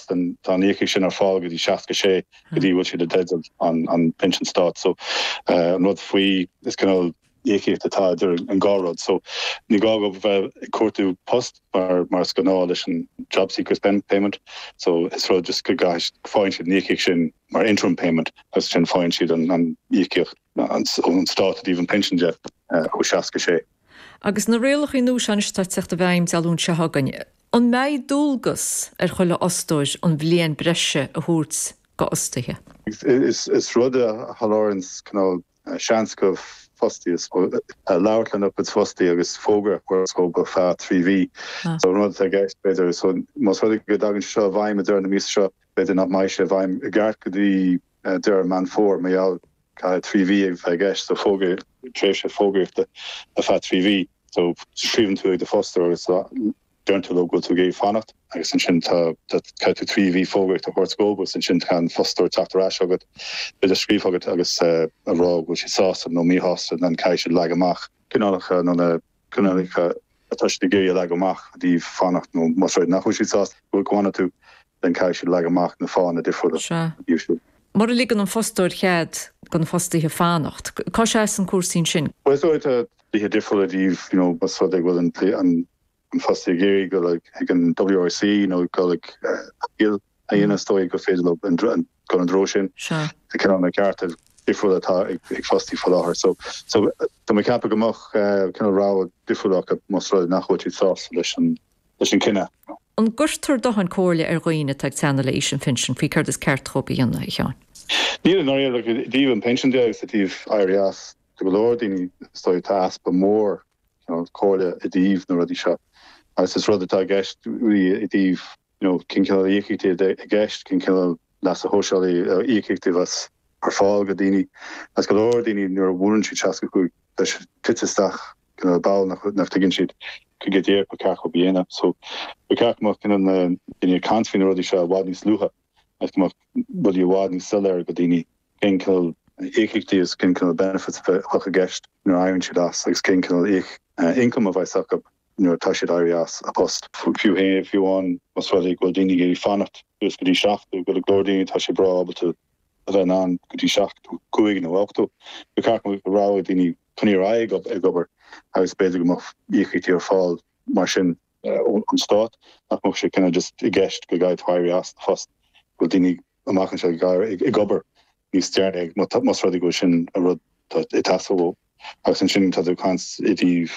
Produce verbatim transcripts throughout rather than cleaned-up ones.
as then tá an íocaíocht sin ar fáil go dtí seasca sé go dtí bhfuil siad i dteideal an an pinsean stáit so uh, an rud faoi is cineál íocaíocht atá idir an dhá rud so ní gá go bheith ag cuartú post mar mar is gnáth leis an job seekers payment so is rud just go gais faigheann siad an íocaíocht sin mar interim payment agus sin faigheann siad an an íocaíocht an ón stát i dtaobh an pinsean de uh, ó seasca sé. Agus na rialacha nua seo atá ag teacht i bhfeidhm Dé Luain seo chugainn. An mbeidh dualgas ar chuile fhostóir an bhliain breise a thabhairt go fhostaithe? Is, is rud a sholáthraíonn cineál seans go fostaí labhairt lena gcuid fostaí agus fógra go feadh trí mhí. So rud atá i gceist b'fhéidir so más rud go dtagann seo i bhfeidhm i deireadh na míosa seo b'fhéidir nach mbeidh sé i bhfeidhm i gceart go dtí deireadh Meán Fómhair mar gheall caithfidh trí mhí ag bheith i gceist so fógra tréimhse fógraíochta ar feadh trí mhí. So scríobhann tú ag do fhostóir agus deireann tú leo go bhfuil tú ag iarraidh fanacht agus ansin tá caithfidh tú trí mhí fógraíocht a thabhairt dóibh agus ansin tá an fostóir teacht ar ais agat b'fhéidir scríobh agat agus a rá go bhfuil siad sásta nó míshásta then caithfidh siad leagan amach cineálacha nó na cineálacha atá siad ag iarraidh a leagan amach i dtaobh fanacht nó más rud nach bhfuil siad sásta go bhfanann tú then caithfidh siad leagan amach na fáthanna difriúla. Sea. Mura ligeann an fostóir cead do na fostaithe fanacht, cá seasann cúrsaí ansin? Well is dóigh tá dlíthe difriúla i dtaobh you know más rud é go bhfuil an an an fostaí ag iarraidh dul ag an WRC nó dul ag appeal a dhéanamh is dóigh gur féidir leo an dul an treo sin. Sea. Tá cineál na cearta difriúla atá ag ag fostaí faoi láthair. So so tá mé ag ceapadh go mbeadh cineál rogha difriúil acu más rud é nach bhfuil siad sásta leis an leis an cinneadh. An gcuirtear dóthain comhairle ar dhaoine atá ag teannadh le haois an phinsin faoi céard is ceart dóibh a dhéanamh, a Sheáin? Níl i ndáiríre, like, i dtaobh an pinsin de agus i dtaobh éirí as, do go leor daoine is dóigh tá easpa mór you know, comhairle i dtaobh na rudaí seo. Agus is rud atá i gceist i dtaobh you know, cén cineál íocaíochtaí i gceist, cén cineál leasa shóisialaigh íocaíochtaí a bheas ar fáil go daoine. Agus go leor daoine nuair a bhuaileann siad seasca cúig tá siad tite isteach cineál ball nach nach dtuigeann siad go go díreach ba cheart dóibh a dhéanamh. So ba cheart go mbeadh cineál na daoine ag caint faoi na rudaí seo i bhfad níos luaithe agus go mbeadh rudaí i bhfad níos soiléire go daoine cén cineál íocaíochtaí agus cén cineál benefits a bheadh i gceist nuair a éiríonn siad as agus cén cineál income a bheas acu nuair atá siad éirí as a post. Fiú féin fiú amháin más rud é go bhfuil daoine ag iarraidh fanacht suas go dtí seachtó go leor daoine tá sé breá ábalta a bheith in ann go dtí seachtó cúig nó ochtó. Ba cheart go mbeadh rogha ag daoine coinneáil ar aghaidh ag obair agus b'fhéidir go mbeadh íocaíochtaí ar fáil mar sin ón stát nach mbeadh sé cineál just i gceist go gcaithfidh tú éirí as do phost go bhfuil daoine amach anseo ag ag obair níos deireanaí más rud é go bhfuil sin an rud atá ag teastáil uathu. Agus ansin tá tú ag caint i dtaobh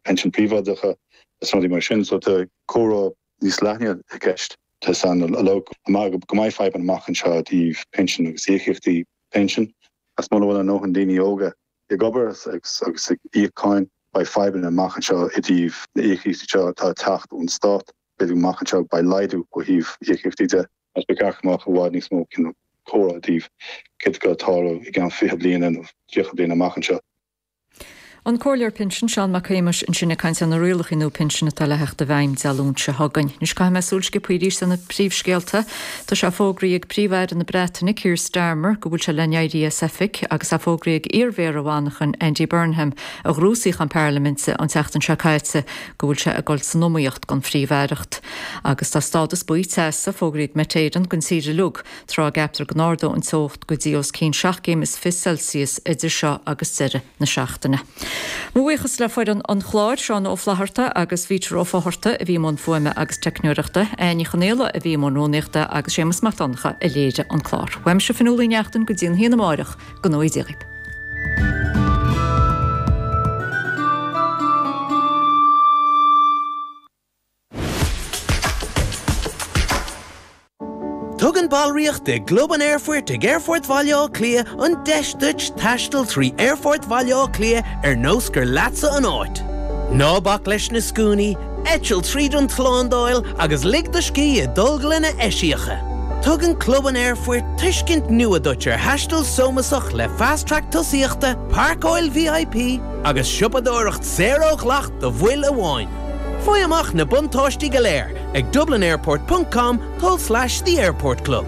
pinsin príobháideacha is rudaí mar sin so tá comhrá níos leithne i gceist. Tá san a log go mbeidh fadhbanna amach anseo i dtaobh pinsin agus íocaíochtaí pinsin. Agus muna bhfuil a ndóthain daoine óga ag obair agus ag íoc cáin, beidh fadhbanna amach anseo i dtaobh na íocaíochtaí seo atá ag teacht ón stát. B'fhéidir amach anseo beidh laghdú ó thaobh íocaíochtaí de agus ba cheart go mbeadh i bhfad níos mó cineál comhrá i dtaobh céard atá ag tarlú i gceann fiche bliana nó tríocha bliana amach anseo. An Comhairleoir Pinsin, Seán Mac Shéamais, ansin ag caint ar na rialacha nua pinsin atá le theacht i bhfeidhm Dé Luain seo chugainn. Anois caithfidh mé súil sciobtha arís ar na príomhscéalta. Tá sé fógraithe ag Príomh-Aire na Breataine, Keir Starmer, go bhfuil sé le n-éirí as oifig agus é fógraithe ag iar-mhéara Mhanchain, Andy Burnham, a ghnóthaigh suíochán parlaiminte an tseachtain seo caite, go bhfuil sé ag dul san iomaíocht don phríomh-aireacht. Agus tá stádas buí teasa fógraithe ag Met Éireann don tír uilig, tráth a gceaptar go n-ardóidh an teocht go dtí os cionn seacht gcéim is fiche Celsius idir seo agus deireadh na seachtaine. Mo bhuíochas le foireann an chláir, Seán Ó Flatharta agus Peter Ó Fátharta a bhí i mbun fuaime agus teicneoireachta, Áine Ní Chonaola a bhí i mbun rúnaíochta agus Séamus Mac Donncha a léirigh an clár. Uaimse Fionnuala Ní Neachtain go dtí an haon amárach, go ngnóthaí Dia dhaoibh. Tugann ballraíocht i gClub an Aerfoirt ag Aerfort Bhaile Átha Cliath an deis duit taisteal trí Aerfort Bhaile Átha Cliath ar nós gur leatsa an áit. Ná bac leis na scuainí, eitil tríd an tslándáil agus lig do scíth i dtolglanna eisiacha. Tugann Club an Aerfoirt tuiscint nua duit ar thaisteal sómasach le Fast Track tosaíochta, páirceáil VIP agus siopadóireacht saor ó dhleacht do bhaill amháin. Faigh amach na buntáistí go léir ag dublinairport ponc com tulslais The Airport Club.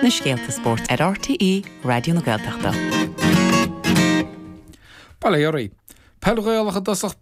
Na scéalta spóirt ar RTÉ Raidió na Gaeltachta. Bail ó Dhia oraibh. Peil Ghaelach i dtosach.